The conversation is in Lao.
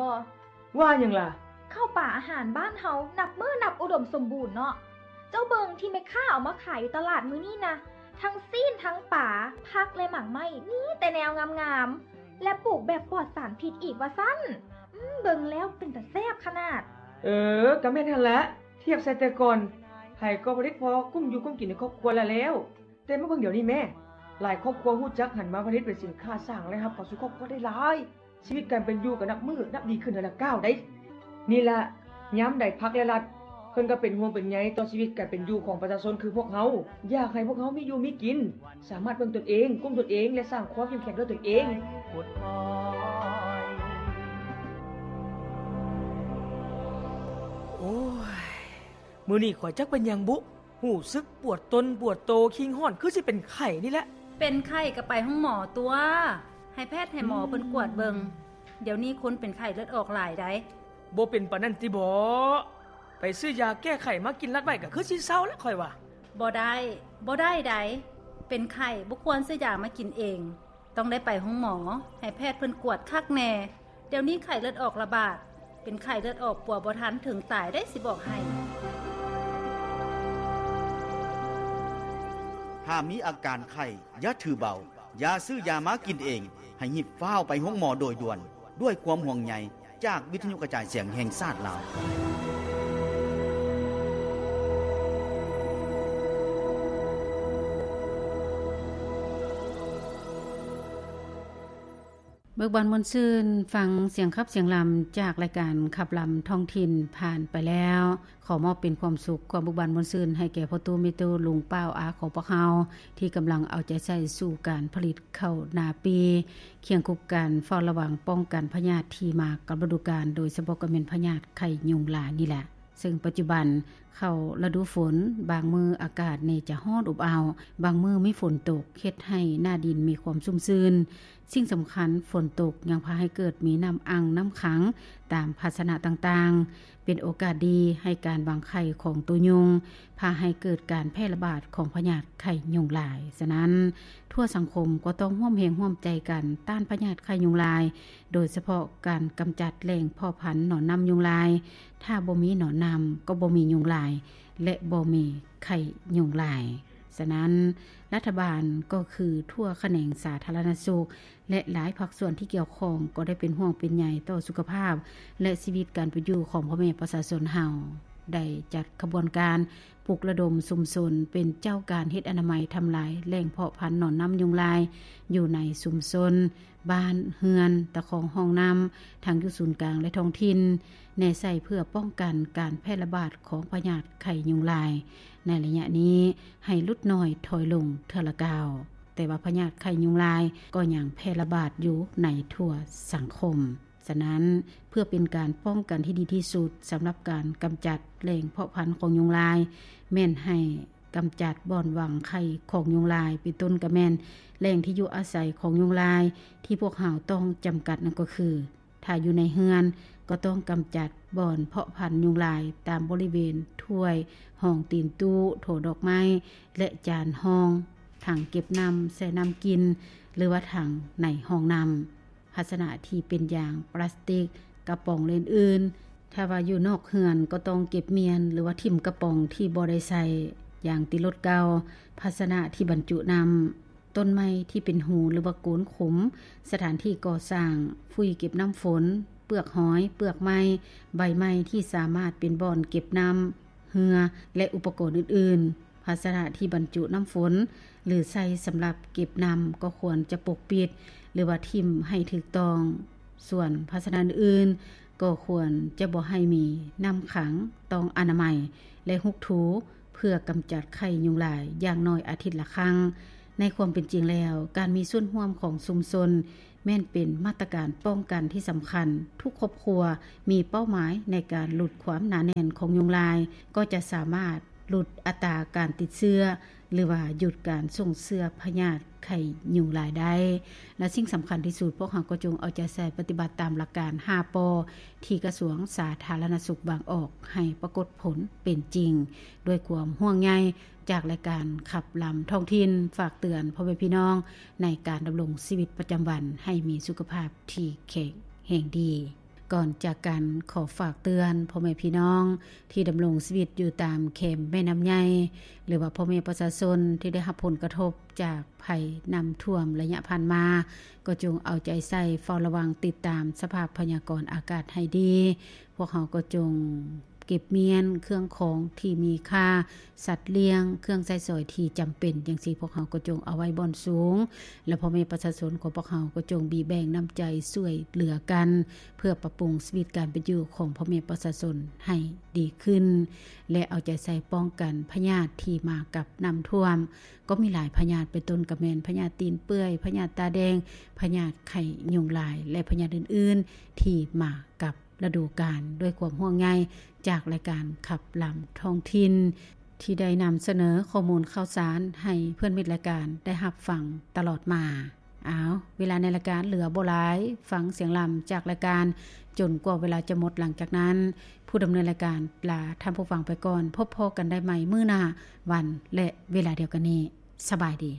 ບໍ່? ວ່າຫຍັງລະ? ເຂົ້າປາອາຫານບ້ານເຮົານັບມື້ນັບອຸດົມສົມບູນເນາະ. ເຈົ້າເບິ່ງທີ່ແມ່ຄ້າເອົາມາຂາຍຢູ່ຕະຫຼາດມື້ນີ້ນະ, ທັງຊີ້ນ ທັງປາ, ຜັກ ແລະ ໝາກໄມ້ ມີແຕ່ແນວງາມໆ ແລະ ປູກແບບປອດສານພິດອີກວ່າຊັ້ນ. ອືມ, ເບິ່ງແລ້ວເປັນຕາແຊບຂະໜາດ. ເອີ, ກະແມ່ນຫັ້ນລະ. ທຽບໃສ່ແຕ່ກ່ອນ, ໃຜກໍຜະລິດພໍກຸ້ມຢູ່ກຸ້ມກິນໃນຄອບຄົວລະແລ້ວ. ແຕ່ມາເບິ່ງດຽວນີ້ແມ້, ຫຼາຍຄອບຄົວຮູ້ຈັກຫັນມາຜະລິດເປັນສິນຄ້າສ້າງລາຍຮັບເຂົ້າສູ່ຄອບຄົວໄດ້ຫຼາຍ. ຊີວິດການເປັນຢູ່ກໍນັບມື້ນັບດີຂຶ້ນເທື່ອລະກ້າວໃດ໋. ນີ້ລະ, ຍາມໃດພັກ ແລະ ລັດ ເພິ່ນກໍເປັນຫ່ວງເປັນໃຍຕໍ່ຊີວິດການເປັນຢູ່ຂອງປະຊາຊົນຄືພວກເຮົາ, ຢາກໃຫ້ພວກເຮົາມີຢູ່ມີກິນ, ສາມາດເບິ່ງຕົນເອງ, ກຸ້ມຕົນເອງ ແລະ ສ້າງຄວາມເຂັ້ມແຂງດ້ວຍຕົນເອງ. ໂອ້ຍ, ມື້ນີ້ຂ້ອຍຈັກເປັນຫຍັງບຸ, ຮູ້ສຶກປວດຕົນປວດໂຕ, ຄີງຮ້ອນ, ຄືຊິເປັນໄຂ້ນີ້ແຫຼະ. ເປັນໄຂ້ກໍໄປໂຮງໝໍຕົວະ, ໃຫ້ແພດໃຫ້ໝໍເພິ່ນກວດເບິ່ງ. ດຽວນີ້ຄົນເປັນໄຂ້ເລືອດອອກຫຼາຍໃດ໋. ບໍ່ເປັນປານນັ້ນຕິບໍ? ໄປຊື້ຢາແກ້ໄຂ້ມາກິນລັດໄວ້ກໍຄືຊິເຊົາແຫຼະຂ້ອຍວ່າ. ບໍ່ໄດ້, ບໍ່ໄດ້ໃດ໋. ເປັນໄຂ້ບໍ່ຄວນຊື້ຢາມາກິນເອງ, ຕ້ອງໄດ້ໄປໂຮງໝໍ, ໃຫ້ແພດເພິ່ນກວດຄັກແນ່. ດຽວນີ້ໄຂ້ເລືອດອອກລະບາດ, ເປັນໄຂ້ເລືອດອອກປົວບໍ່ທັນເຖິງຕາຍໄດ໋ ຊິບອກໃຫ້. ຖ້າມີອາການໄຂ້, ຢ່າຖືເບົາ, ຢ່າຊື້ຢາມາກິນເອງ, ໃຫ້ຮີບຟ້າວໄປໂຮງໝໍໂດຍດ່ວນ, ດ້ວຍຄວາມຫ່ວງໃຍຈາກວິທະຍຸກະຈາຍສຽງແຫ່ງຊາດລາວ. ເບີກບານມ່ວນຊື່ນ, ຟັງສຽງຂັບສຽງລຳຈາກລາຍການຂັບລຳທ້ອງຖິ່ນຜ່ານໄປແລ້ວ. ຂໍມອບເປັນຄວາມສຸກ, ຄວາມເບີກບານມ່ວນຊື່ນໃຫ້ແກ່ພໍ່ຕູ້ແມ່ຕູ້, ລຸງປ້າອາຂອງພວກເຮົາ ທີ່ກຳລັງເອົາໃຈໃສ່ສູ່ການຜະລິດເຂົ້ານາປີ, ຄຽງຄູ່ກັນເຝົ້າລະວັງປ້ອງກັນພະຍາດທີ່ມາກັບລະດູການ, ໂດຍສະເພາະກໍແມ່ນພະຍາດໄຂ້ຍຸງລາຍນີ້ແຫຼະ. ເຊິ່ງປັດຈຸບັນເຂົ້າລະດູຝົນ, ບາງມື້ອາກາດນີ້ຈະຮ້ອນອົບເອົາ, ບາງມື້ມີຝົນຕົກ, ເຮັດໃຫ້ໜ້າດິນມີຄວາມຊຸ່ມຊື່ນ. ສິ່ງສຳຄັນ, ຝົນຕົກຍັງພາໃຫ້ເກີດມີນ້ຳອັ່ງ, ນ້ຳຂັງຕາມພາຊະນະຕ່າງໆ, ເປັນໂອກາດດີໃຫ້ການວາງໄຂ່ຂອງໂຕຍຸງ, ພາໃຫ້ເກີດການແຜ່ລະບາດຂອງພະຍາດໄຂ້ຍຸງລາຍ. ສະນັ້ນ, ທົ່ວສັງຄົມກໍຕ້ອງຮ່ວມແຮງຮ່ວມໃຈກັນຕ້ານພະຍາດໄຂ້ຍຸງລາຍ, ໂດຍສະເພາະການກຳຈັດແຫຼ່ງເພາະພັນໜອນນ້ຳຍຸງລາຍ. ຖ້າບໍ່ມີໜອນນ້ຳ, ກໍບໍ່ມີຍຸງລາຍ ແລະ ບໍ່ມີໄຂ້ຍຸງລາຍ. ສະນັ້ນ, ລັດຖະບານກໍຄືທົ່ວຂະແໜງສາທາລະນະສຸກ ແລະ ຫຼາຍພາກສ່ວນທີ່ກ່ຽວຂ້ອງກໍໄດ້ເປັນຫ່ວງເປັນໃຍຕໍ່ສຸຂະພາບ ແລະ ຊີວິດການເປັນຢູ່ຂອງພໍ່ແມ່ປະຊາຊົນເຮົາ, ໄດ້ຈັດຂະບວນການປຸກລະດົມຊຸມຊົນເປັນເຈົ້າການເຮັດອະນາໄມທຳລາຍແຫຼ່ງເພາະພັນໜອນນ້ຳຍຸງລາຍຢູ່ໃນຊຸມຊົນ, ບ້ານເຮືອນ, ຕະຄອງຮ່ອງນ້ຳ, ທັງຢູ່ສູນກາງ ແລະ ທ້ອງຖິ່ນ, ແນໃສ່ເພື່ອປ້ອງກັນການແຜ່ລະບາດຂອງພະຍາດໄຂ້ຍຸງລາຍໃນໄລຍະນີ້ໃຫ້ຫຼຸດນ້ອຍຖອຍລົງເທື່ອລະກ້າວ. ແຕ່ວ່າພະຍາດໄຂ້ຍຸງລາຍກໍຍັງແຜ່ລະບາດຢູ່ໃນທົ່ວສັງຄົມ. ສະນັ້ນ, ເພື່ອເປັນການປ້ອງກັນທີ່ດີທີ່ສຸດສຳລັບການກຳຈັດແຫຼ່ງເພາະພັນຂອງຍຸງລາຍ, ແມ່ນໃຫ້ກຳຈັດບ່ອນວາງໄຂ່ຂອງຍຸງລາຍ, ເປັນຕົ້ນກໍແມ່ນແຫຼ່ງທີ່ຢູ່ອາໄສຂອງຍຸງລາຍ. ທີ່ພວກເຮົາຕ້ອງຈຳກັດນັ້ນກໍຄື, ຖ້າຢູ່ໃນເຮືອນກໍຕ້ອງກຳຈັດບ່ອນເພາະພັນຍຸງລາຍຕາມບໍລິເວນຖ້ວຍ, ຮອງຕີນຕູ້, ໂຖດອກໄມ້ ແລະ ຈານຮອງ, ຖັງເກັບນ້ຳ, ແຊ່ນ້ຳກິນ ຫຼືວ່າຖັງໃນຫ້ອງນ້ຳ. ພາຊະນະທີ່ເປັນຢາງ, ປລາສຕິກ, ກະປ໋ອງ ແລະ ອື່ນໆ. ຖ້າວ່າຢູ່ນອກເຮືອນກໍຕ້ອງເກັບມ້ຽນ ຫຼືວ່າຖິ້ມກະປ໋ອງທີ່ບໍ່ໄດ້ໃຊ້ຢ່າງຕິລົດເກົ່າ. ພາຊະນະທີ່ບັນຈຸນ້ຳ, ຕົ້ນໄມ້ທີ່ເປັນຮູ ຫຼືວ່າໂກນຂຸມ, ສະຖານທີ່ກໍ່ສ້າງ, ຟຸ້ຍເກັບນ້ຳຝົນ, ເປືອກຫອຍ, ເປືອກໄມ້, ໃບໄມ້ທີ່ສາມາດເປັນບ່ອນເກັບນ້ຳ, ເຮືອ ແລະ ອຸປະກອນອື່ນໆ. ພາຊະນະທີ່ບັນຈຸນ້ຳຝົນ ຫຼື ໃຊ້ສຳລັບເກັບນ້ຳກໍຄວນຈະປົກປິດ ຫຼືວ່າຖິ້ມໃຫ້ຖືກຕ້ອງ. ສ່ວນພາຊະນະອື່ນໆກໍຄວນຈະບໍ່ໃຫ້ມີນ້ຳຂັງ, ຕ້ອງອະນາໄມ ແລະ ຮຸກຖູເພື່ອກຳຈັດໄຂ້ຍຸງລາຍຢ່າງໜ້ອຍອາທິດລະຄັ້ງ. ໃນຄວາມເປັນຈິງແລ້ວ, ການມີສ່ວນຮ່ວມຂອງຊຸມຊົນ ແມ່ນເປັນມາດຕະການປ້ອງກັນທີ່ສຳຄັນ. ທຸກຄອບຄົວມີເປົ້າໝາຍໃນການຫຼຸດຄວາມໜາແໜ້ນຂອງຍຸງລາຍ, ກໍຈະສາມາດຫຼຸດອັດຕາການຕິດເຊື້ອ ຫຼືວ່າຢຸດການສົ່ງເຊື້ອພະຍາດໄຂ້ຍຸງລາຍໄດ້. ແລະ ສິ່ງສຳຄັນທີ່ສຸດ, ພວກເຮົາກໍຈົ່ງເອົາໃຈໃສ່ປະຕິບັດຕາມຫຼັກການຫ້າ ປ ທີ່ກະຊວງສາທາລະນະສຸກວາງອອກໃຫ້ປາກົດຜົນເປັນຈິງ ດ້ວຍຄວາມຫ່ວງໃຍ ຈາກລາຍການຂັບລຳທ້ອງຖິ່ນ ຝາກເຕືອນພໍ່ແມ່ພີ່ນ້ອງໃນການດຳລົງຊີວິດປະຈຳວັນໃຫ້ມີສຸຂະພາບທີ່ແຂງແຮງດີ. ກ່ອນຈາກກັນ ຂໍຝາກເຕືອນພໍ່ແມ່ພີ່ນ້ອງທີ່ດຳລົງຊີວິດຢູ່ຕາມແຄມແມ່ນ້ຳໃຫຍ່ ຫຼືວ່າພໍ່ແມ່ປະຊາຊົນທີ່ໄດ້ຮັບຜົນກະທົບຈາກໄພນ້ຳຖ້ວມໄລຍະຜ່ານມາ ກໍຈົ່ງເອົາໃຈໃສ່ເຝົ້າລະວັງຕິດຕາມສະພາບພະຍາກອນອາກາດໃຫ້ດີ. ພວກເຮົາກໍຈົ່ງເກັບມ້ຽນເຄື່ອງຂອງທີ່ມີຄ່າ, ສັດລ້ຽງ, ເຄື່ອງໃຊ້ສອຍທີ່ຈຳເປັນຈັ່ງຊີ້ ພວກເຮົາກໍຈົ່ງເອົາໄວ້ບ່ອນສູງ ແລະ ພໍ່ແມ່ປະຊາຊົນຂອງພວກເຮົາກໍຈົ່ງບີແບ່ງນ້ຳໃຈຊ່ວຍເຫຼືອກັນ ເພື່ອປັບປຸງຊີວິດການເປັນຢູ່ຂອງພໍ່ແມ່ປະຊາຊົນໃຫ້ດີຂຶ້ນ ແລະ ເອົາໃຈໃສ່ປ້ອງກັນພະຍາດທີ່ມາກັບນ້ຳຖ້ວມ. ກໍມີຫຼາຍພະຍາດ ເປັນຕົ້ນກໍແມ່ນພະຍາດຕີນເປື່ອຍ, ພະຍາດຕາແດງ, ພະຍາດໄຂ້ຍຸງລາຍ ແລະ ພະຍາດອື່ນໆທີ່ມາກັບ ລະດູການ ດ້ວຍຄວາມຫ່ວງໃຍຈາກລາຍການຂັບລຳທ້ອງຖິ່ນ ທີ່ໄດ້ນຳສະເໜີຂໍ້ມູນຂ່າວສານໃຫ້ເພື່ອນມິດລາຍການໄດ້ຮັບຟັງຕະຫຼອດມາ. ເອົາ, ເວລາໃນລາຍການເຫຼືອບໍ່ຫຼາຍ, ຟັງສຽງລຳຈາກລາຍການຈົນກວ່າເວລາຈະໝົດ. ຫຼັງຈາກນັ້ນ, ຜູ້ດຳເນີນລາຍການລາທ່ານຜູ້ຟັງໄປກ່ອນ. ພົບພໍ້ກັນໄດ້ໃໝ່ມື້ໜ້າວັນ ແລະ ເວລາດຽວກັນນີ້. ສະບາຍດີ.